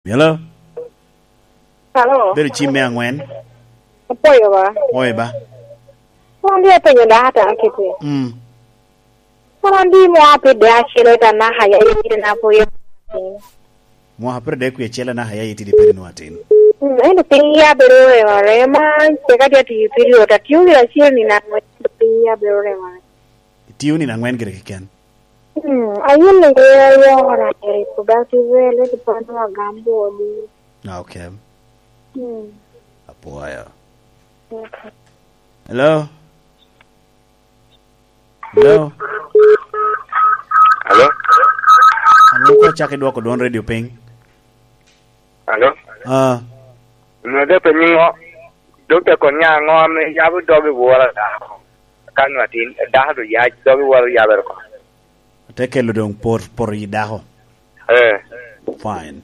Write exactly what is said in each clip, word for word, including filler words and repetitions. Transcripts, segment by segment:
Hello? Hello? Bedo cim me angwen. Apwoyo ba. Oye ba. Wan di apenyo daka ta kiti. Mm. Wan di mo apide acelo ta na haya ye kiti na po ye. Mwaka pire dek wie acel anaka ya itidi peri nwa atin. Mm, ento piny ya bedo rema rema, teka tye atiyo period, atiyo gire acel ni nangwe, piny ya bedo rema rema. Itiyo ni nangwen gire keken. Mm, ayun ni kaya ya ora eri productive well, ento pano agambo di. Ah, okay. Mm. Apwoyo. Okay. Hello? Hello? Hello? Alo, ko acak idwoko dwon radio piny. Hello? Ah. Nwa de pe nyingo, dokta kon nya ngo ame yabo dog i wora dako. Kan nwa tin, dako do yac, dog i wora yabere ko. Te kelo dong por, por i dako. Eh. Fine.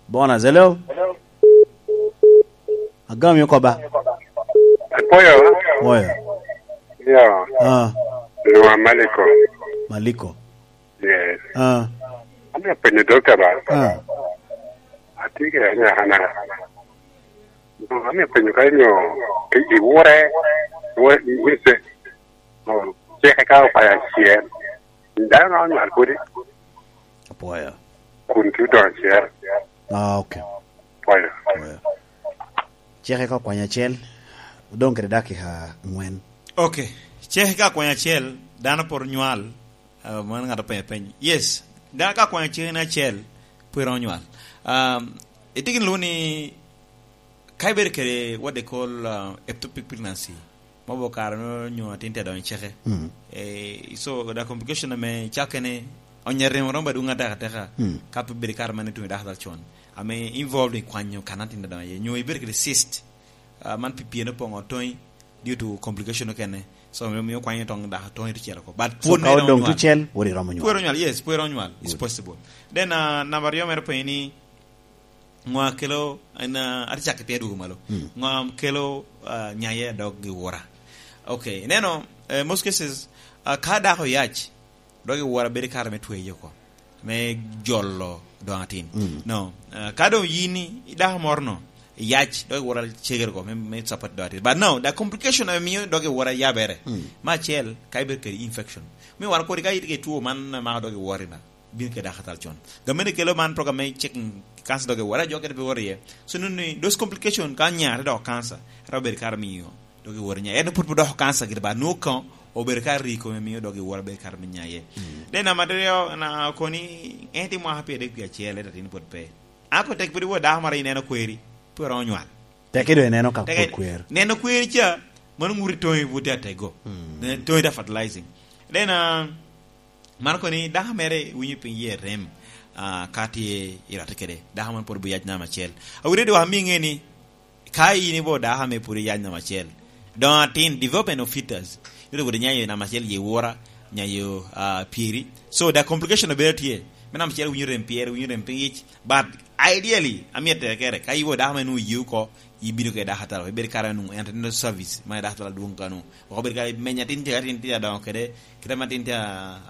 Bona, hello? Agami oko ba? Apoyo. Oyo. Yo. Ah. Nwa Maliko. Maliko. Yes. Ah. Ami apenyo dokta ba. Ah. Atye ke anya hana. No, ami apenyo ka inyo i, i wore, wore, wese. Oh, ceke ka okwaya acel. Dano na onywal kodi. Apwoyo. Kun tye odongo acel. Ah, okay. Apwoyo. Apwoyo. Ceke ka okwanya acel, odong kede dakika angwen. Okay. Ceke ka okwanya acel, dano poro nywal, ah, man ng'ato penyo peny. Yes, dano ka okwanya ceke ni acel, pwere onywal. Um, itye gin lwongo ni, ka ibedo kede what they call, uh, ectopic pregnancy, ma obo kare no nyo atin te donyo i ceke. Mm. Eh, so, the complication ame cakene, onyere romo ba dwong ateka ateka, mm, ka pe bedo kare man itwonyo dako dal con. Ame involved i kwanyo kan atin te donyo iye. Nyo ibedo kede cyst, uh, man pi pien opoŋo toŋi, due to complication okene. So, mio, mio kwanyo toŋ dako toŋi to cito oko. But so, pwod ka odong nywal. Tucel, pwod iromo nywal. Pwod onywal, yes, pwod onywal. It's good. Possible. Then, uh, number aryo mere penyo ni, Ŋo a kelo, en, ah, atye cak piny adwogo malo. Mm. Ŋo a kelo, ah, nyaye a dog i wora? Okay, ineno, eh, most cases, ah, ka dako oyac, dog i wora bedo kare me tweyo oko, me jolo doŋ atin. Mm. No, ah, ka doŋ yin i dako moro no, iyac, dog i wora cegere oko me, me support doŋ atin. But no, the complication ame mio dog i wora yabere, mm, me acel, ka ibedo kede infection. Me wan kodi ka itye kede two man, mako dog i wora na. Bino kede dako atal con. Gamente kelo man program me checking cancer dog i wora, jo kede pe wora iye. So, neno ni those complication ka nya te doko cancer, ero bedo kare miyo dog i wora nya. En pwod pe doko cancer gire ba, nwoŋo ka obedo kare i kome miyo dog i wora bedo kare me nya iye. Mm. Then number aryo, na koni, en tye mwaka pyeradek wie acel, ento atin pwod pe. Ako tek pwod iwor dako moro ineno kweri, pwod iromo nywal. Tek ido ineno ka pwod kwer. Neno kweri ca, mano ŋuti toŋi pwod tye atego. Mm. Ne-, toŋi tye fertilizing. Then, ah, Man kono ni dako mere winyo piny yie rem, ah, ka tye i rate kede. Dako man pwod obiyac namba acel. Awinyo dok ami ŋe ni, ka in ibo dako ame pwod iyac namba acel, doŋ atin, development of fetus, ite woto nyayo namba acel ye wora, nyayo, ah, pyeri. So, the complication obedo tye. Me namba acel winyo rem pyere, winyo rem piny yic. But ideally, amyero tek kere, ka ibo dako ame nwoŋo iye oko, ibino kede dako atalo, ibedo kare nwoŋo antenatal service, ma dako atalo adwoŋ kano. Wok obedo kare meny atin tye, atin tye adoŋo kede, kite ma atin tye a,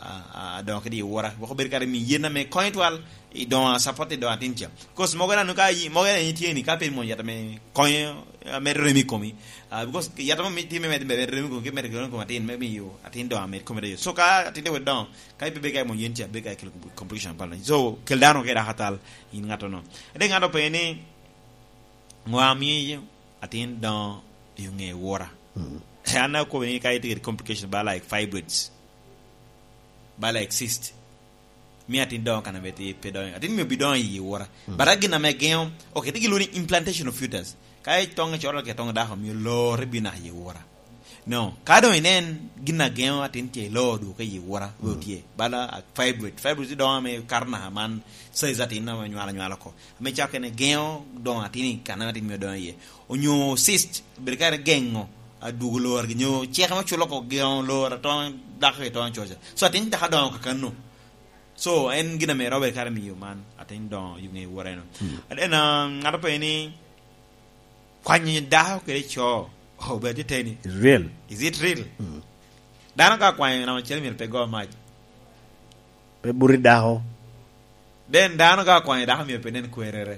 a, a, adoŋo kede i wora. Wok obedo kare mi yen ame konyo twal, i doŋo a support i doŋo atin ca. Because mogo nanu ka yi, mogo en tye ni, ka pe imwonyo yat ame konyo, ame remi i komi. Ah, because yat ame tye me medo, medo remi i komi, ki medo remi i komi atin, me miyo atin doŋo amed kome doŋo. So ka atin tye wet doŋo, ka ipe beka imwonyo yen ca, beka ikelo complication pala. So, kel dano kede dako atal, in ŋatto no. Ade ŋat openyo ni, Ŋo a mio atin doŋo i ŋe wora? Mm. An akobo ni ka itye kede complication ba like fibroids, ba like cyst, mio atin doŋo kan ame tye pe doŋo. Atin mio bi doŋo i wora. Mm. But a gin ame geŋo, okay, tye gin lwongo ni implantation of fetus. Ka itoŋe coro kede toŋo dako, mio lore bino naka i wora. No, ka doŋ inen gin a geŋo atin tye i loo dwoke i wora, we otye. Bala, ah, fibroid. Fibroid doŋo ame kato naka man size atin ame nywalo nywalo oko. Ame cako kene geŋo doŋo atin i kan ame atin mio doŋo iye. Onyo cyst, bedo kare geŋo, ah, dwogo lor, nyo ceke me culo oko geŋo lor, atoŋo dako i toŋo coca. So atin dako doŋo kakano. So, en gin ame robe kare miyo man, atin doŋo i ŋe wora eno. Mm. And then, ah, ŋat openyo ni, Kwanyo dako kede co, oh, be atye teni. It's real. Is it real? Mm. Dano ka kwanyo namba acel myero pe go mac. Pe buti dako. Den dano ka okwanyo dako myero pe nen kwerere.